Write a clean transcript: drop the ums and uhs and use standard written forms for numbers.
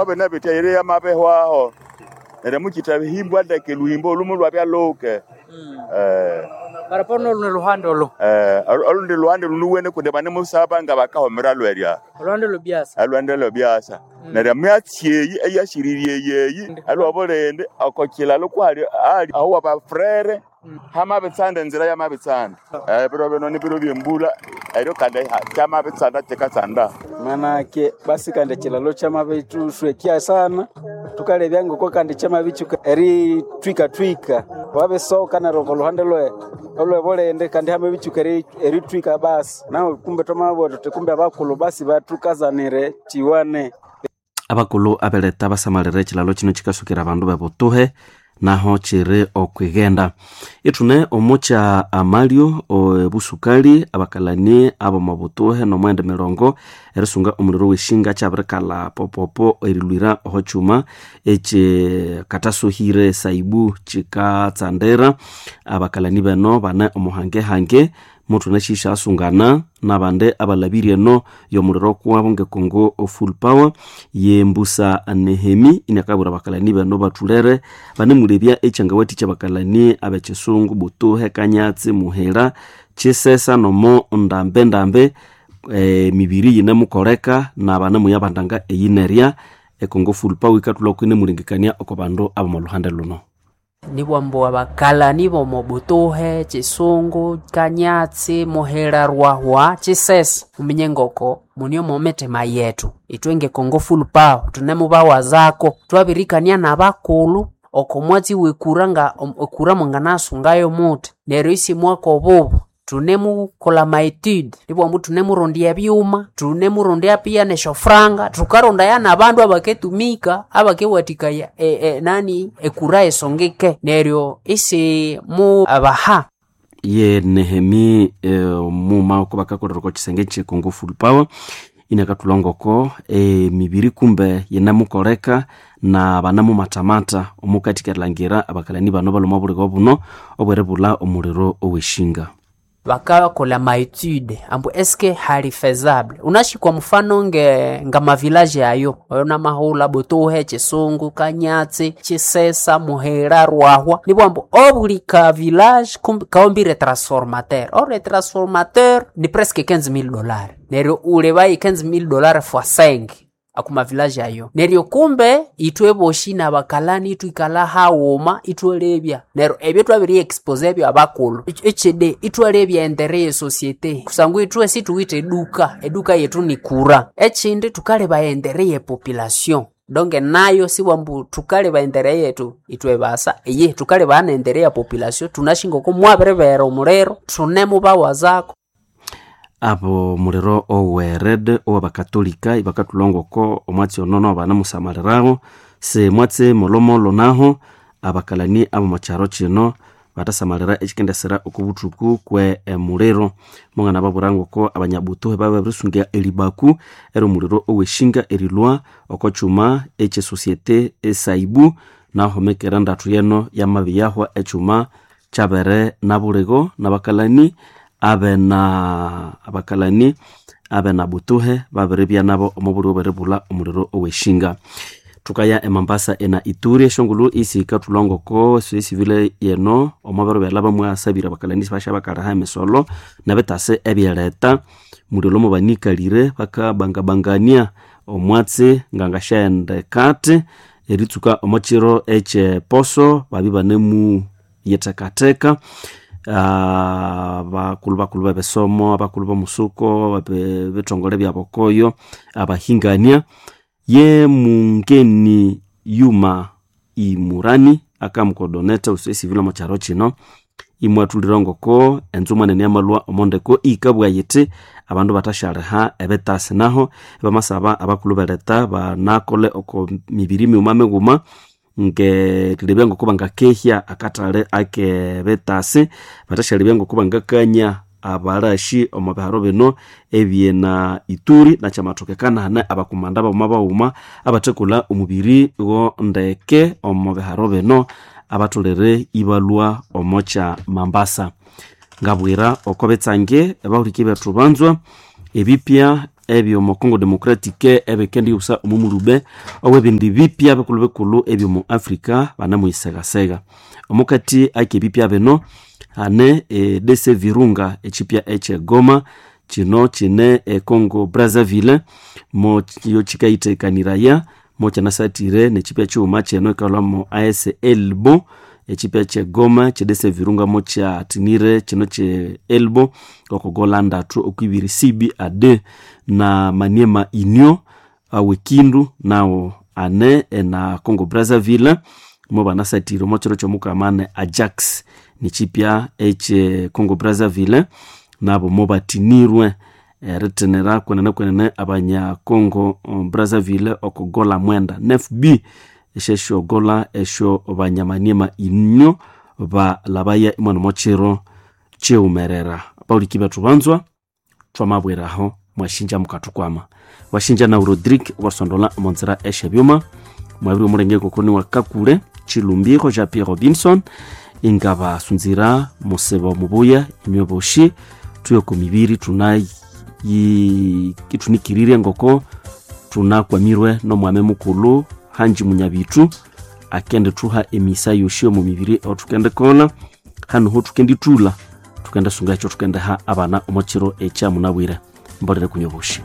Bene bitya iri yamabihwaho neryo mukithahimbwa ndeke lhuhimbo olumu lwabya luke. Paraporo nolune luhande olo. Olundi luhande lhunuwene kundi banemusaba nga bakahomera lwerya. Olwande lwebyasa. Olwande lwebyasa. Neryo emyatsi eyi eyashirirye eyi alwobulindi oko kilalo kwali ali aho wabafurere hamabitsanda enzira yamabitsanda. Ebiro bino nibiro byembulha eryo kandi kyamabitsanda kyikatsanda. Manake basi kandi ekilalo kyamabithuswekya sana thukalebya ngoko kandi kyamabitsuka erithwikathwika wabisoka neryo oko luhande olwebulindi kandi hamabitsuka erithwika basi nahu kumbe twamabugha thuthi kumbe abakulhu basi bathukazanire kiwane. Abakulhu abeletha basamalira ekilalo kino kikasukira abandu bebutuhe naho kiri okwighenda. Ithune omukya amalyo ebusukali abakalani abomo butuhe nomwende mirongo erisunga omuliro weshinga kyabirikalha popopo erilwira oho kyuma ekyikatasuhire saibu kikatsandira. Abakalani beno bane omuhangehange muthune syisyasungana nabandi abalhabire eno yomuliro kuwabo ngekongo full power yembusa Nehemi inakabwira abakalani beno bathulere banemulebya ekyangawathikya abakalani abekyisungu Butuhe, Kanyatsi, Muhira, Kyisesa nomo ndambe emibiri yinemukoleka nabanemuyabandanga eyinerya. Ekongo full power yikathulha inemulengekania oko bandu abomo lhuhande luno. Nibwambu abakalani bomo Butuhe, Kyisungu, Kanyatsi, Muhira, Rwahwa, Kyisesa muminye ngoko muni omo mithima yethu ithwe nge Congo Full Power thunemubawazako thwabirikania nabakulhu oko mwatsi wekura nga ekura mwanganasungayo muthi neryo isimwaka obubu thunemukolha amaetude nibwambu thunemurondya ebyuma thunemurondya pia nesyofranga thukarondaya nabandu abaketumika abakewathikaya nani ekura esongike neryo isimu abaha. Ye Nehemi muma oko bakakolera oko kisenge kye Congo Full Power inakathulha ngoko emibiri kumbe yinemukoleka na banemumathamata omukathi erilhangira abakalani bano balhwa omo buligo buno obweribulha omuliro oweshinga. Bakakolha amaetude ambu eske hali faisable unashi kwa mfano nge ngamavilaje ayo oyo namahulha Butuhe, Kyisungu, Kanyatsi, Kyisesa, Muhira, Rwahwa nibwambu obuli ka village kawombire transformateur or transformateur ni presque $15,000 neryo ulebaye $15,000 fois 5 akuma village ayo neryo kumbe ithwe boshi nabakalani ithwikalha haghuma ithwalebya neryo ebyo thwabiri expose ebyo abakulhu ekyidi ithwalebya endere ye societe kusangwa ithwe sithuwithe eduka eduka yethu ni kura ekyindi thukaleba endere ye population donge nayo sibwambu thukaleba endere yethu ithwe basa eye thukaleba nendere ya population thunashi ngoko mwabiribera omuliro thunemubawazako. Abo muliro owered owabakatolika ibakathulha ngoko omwatsi ono nabo banamusamaliraho simwatsi molhomolho naho abakalani abomo kyaro kino bathasamalira ekyikendesera oko buthuku kwe emuliro. Munganababwira ngoko abanyabutuhe bababirisunga eribaku eryomuliro oweshinga erilhwa oko kyuma ekye societe esaibu nahomekera ndathu yeno yamabiyahwa ekyuma kyabere nabuligo nabakalani abena abakalani abena Butuhe babiribya nabo omo buligo bweribulha omuliro oweshinga. Thukaya emambasa ena Ituri esyongulhu isikathulha ngoko esivile yeno omo biro byalhaba mwasabire abakalani isibasya bakaliha emisolo nebitasi ebyeletha muliro mubanikalire bakabangabangania omwatsi ngangasyaghenda ekathi eritsuka omo kiro ekyeposo babya ibanemuyithekatheka. Abakulhu bakulhu bebisomo, abakulhu bomusuko, ebithongole byabokoyo, abahingania ye mungeni Yuma Imurani akamukodoneta esivile omo kyaro kino imwathulira ngoko enzuma nene yamalhwa omo ndeko iyikabugha yithi abandu bathasyaliha ebitasi naho ibamasaba abakulhu beletha banakole oko mibiri mighuma mighuma ngerilebya ngoko bangakehya akathali akebitasi bathasyalebya ngoko bangakanya abalashi omo biharo bino ebyena Ituri nakyamathokekana hane abakumanda baghuma baghuma abathakolha omubiri go ndeke omo biharo bino abatholere ibalhwa omo kya Mambasa. Ngabwira oko bitsange abahuliki bethu banzwa ebipya. ebyomo Congo Democratic ebikendiyusa omu mulube owebindi bipya bikulu bikulu ebyomu Africa banamuyisegasega. Omukati akebipya bino hane DC Virunga echipya eche Goma kino kine e Congo Brazzaville mo yo chikayitekaniraya mo kyanasatire nechipya chighuma kyeno ikalwamo AS Elbo echipya kye Goma chedese Virunga mo kyatinire kino kye Elbo okogola ndatu okwibiri CB AD na Maniema Union awekindu nawo ane na Congo Brazzaville mo banasatire omo kiro kyomukamane Ajax nichipya eche Congo Brazzaville nabo mo batinirwe eritinira kwenene kwenene abanya Congo Brazzaville okogola mwenda nefb esheshogola esho banyamaniema inyo balabaya imwana mochiro chiumerera pauliki bethu banzwa twamabweraho mwashinja mukathukwama washinja na Rodrigue wasondola omonzera eshebyuma mwabiri omulenge kokoni wa Kakule Chilumbiro Jean Pierre Robinson ingabasunzira musebo mubuya inywe boshi tuyoko mibiri tunaitunikirire ngoko tunakwamirwe nomwame mukulu hanji munyabitu akende tuha emisa yoshi omu mibiri otukende kola hanu ho tukenditula tukende sunga ekyo tukendeha abana omo kiro ekyamunabwire mbolere kunywa boshi.